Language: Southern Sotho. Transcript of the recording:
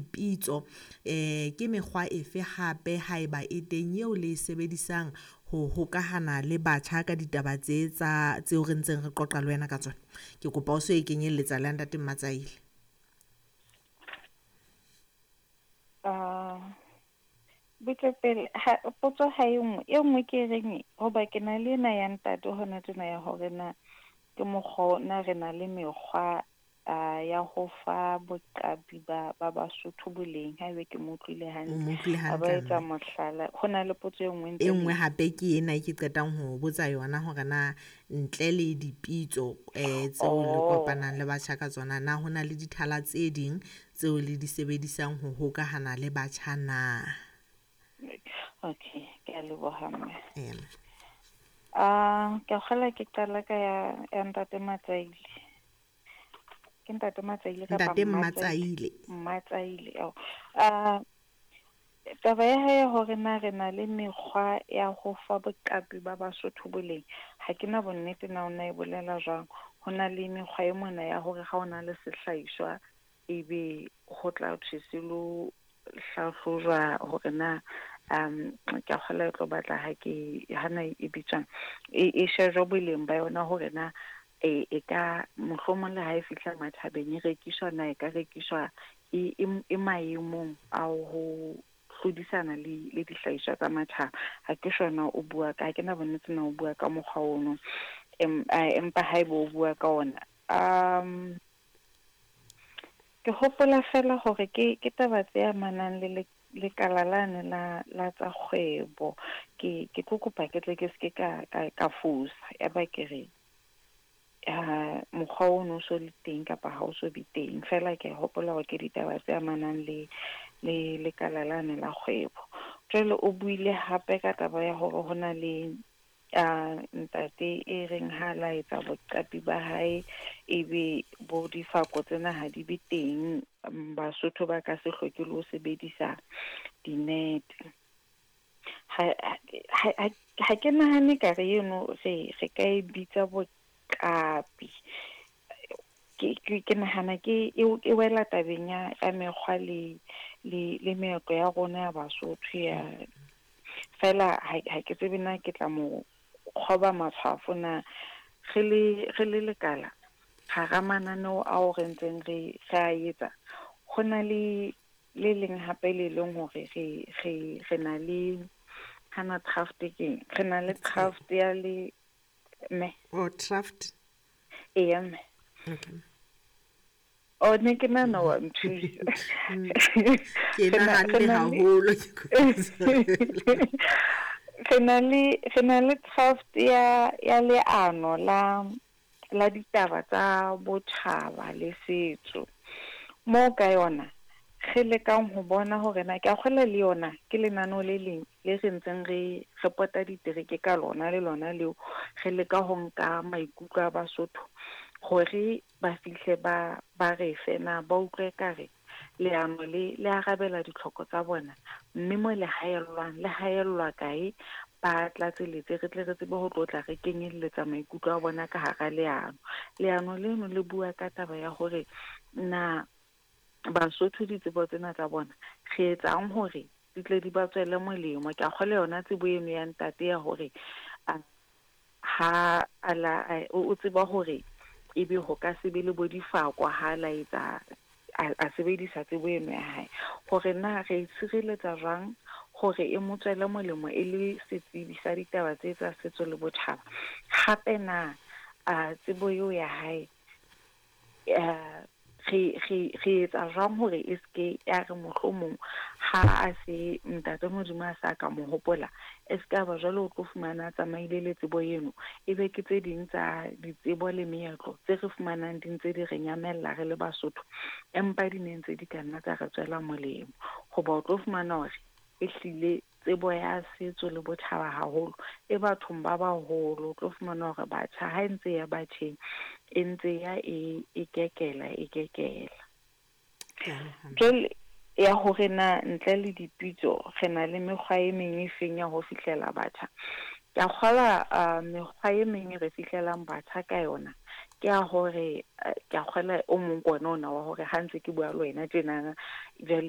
dipitso, ke mekgwa efe hape haeba e teng eo le e sebedisang ho hokahana le batjha ka ditaba tse tsa tseo re ntseng re qoqa le wena ka tsona? Ke kopa o so e kenyelletsa le ntate Mmatsaile. Butle pele, ha potso ha e nngwe, e nngwe ke reng hoba ke na le ena ya ntate hona tjena ya hore na ke mokgwa na re na le mekgwa ya ho fa boqapi ba Basotho boleng, haebe ke mo utlwile hantle. A ba etsa mohlala. Ho na le potso e nngwe e nngwe hape ke ena e ke qetang ho botsa yona hore na ntle le dipitso tseo le kopanang le batjha ka tsona, na ho na le dithala tse ding tseo le di sebedisang ho hokahana le batjha na? Okay, ke a leboha mme. Ke kgola ke qala ka ya ntate Matsaile. Ke ntate Matsaile kapa Ntate Mmatsaile. Mmatsaile. Taba ya hae hore na re na le mekgwa ya ho fa boqapi ba Basotho boleng, ha ke na bonnete na o na e bolela jwang. Ho na le mekgwa e mona ya hore ha o na le sehlahiswa ebe ho tla thwe se lo hlahlojwa hore na ke a kgola e tlo batla ha ke hana e bitswang e shejwa boleng ba yona hore na e ka mohlomong le ha e fihla matjhabeng e rekiswa na e ka rekiswa e maemong a ho hlodisana le dihlahiswa tsa matjhaba. Ha ke sure o bua ka, ha ke na bonnete na o bua ka mokgwa ono, empa haeba o bua ka ona, ke hopola fela hore ke taba tse amanang le lekala lane la tsa kgwebo. Ke tlo kopa ke tle ke seke ka fosa ya ba ke re mokgwa ono o so le teng kapa ha o so be teng. Fela ke hopola hore ke ditaba tse amanang le lekala lane la kgwebo. Jwale o buile hape ka taba ya hore ho na le ntate e reng ha la etsa boqapi ba hae ebe bo difako tsena ha di be teng, Basotho ba ka se hloke le ho sebedisa dinete. Ha ke nahane ka re eno re ka e bitsa boqapi. Ke nahana ke e wela tabeng ya mekgwa le meetlo ya rona ya Basotho ya fela. Ha ke tsebe na ke tla mo kgoba matshwafo na re le lekala hara mananeo ao re ntseng re a etsa. Ho na le le leng hape le leng hore re na le hana draft ke re na le draft ya le me o draft e mme. Okay. O ne ke nahana wa nthusa. Ke nahanne haholo. Re na le draft ya leano la ditaba tsa botjhaba le setso. Moo ka yona re lekang ho bona hore na ke a kgola le yona ke lenaneo le leng le re ntseng re pota ditereke ka lona le lona leo re leka ho nka maikutlo a Basotho hore ba fihle ba re fe na ba utlwe ka re leano le arabela ditlhoko tsa bona, mme mo le haellwang le haellwa kae ba tlatseletse re tle re tsebe ho tlotla re kenyelletsa maikutlo a bona ka hara leano. Leano leno le bua ka taba ya hore na Basotho ditsebo tsena tsa bona re etsang hore di tle di ba tswele molemo. Ke a kgolwa yona tsebo eno ya ntate ya hore ha o tseba hore ebe ho ka se be le bo difako ha la etsa a sebedisa tsebo eno ya hae, hore na re tshireletsa jwang hore e mo tswele molemo e le setsebi sa ditaba tse tsa setso le botjhaba. Hape na tsebo eo ya hae re etsa jwang hore e seke ya re mohlomong ha a se ntate Modimo a sa ka mo hopola, e se ka ba jwale o tlo fumana a tsamaile le tsebo eno, ebe ke tse ding tsa ditsebo le meetlo tse re fumanang di ntse di re nyamella re le Basotho, empa di ne ntse di ka nna tsa re tswela molemo. Hoba o tlo fumana hore ehlile tsebo ya setso le botjhaba haholo e bathong ba baholo. O tlo fumana hore batjha ha e ntse ya batjheng e ntse ya e kekela e kekela. Jwale ya hore na ntle le dipitso re na le mekgwa e meng e feng ya ho fihlela batjha, ke a kgola mekgwa e meng e re fihlelang batjha ka yona ke ya hore ke a kgola o mong ke ona wa hore ha ntse ke bua le wena tjenana jwale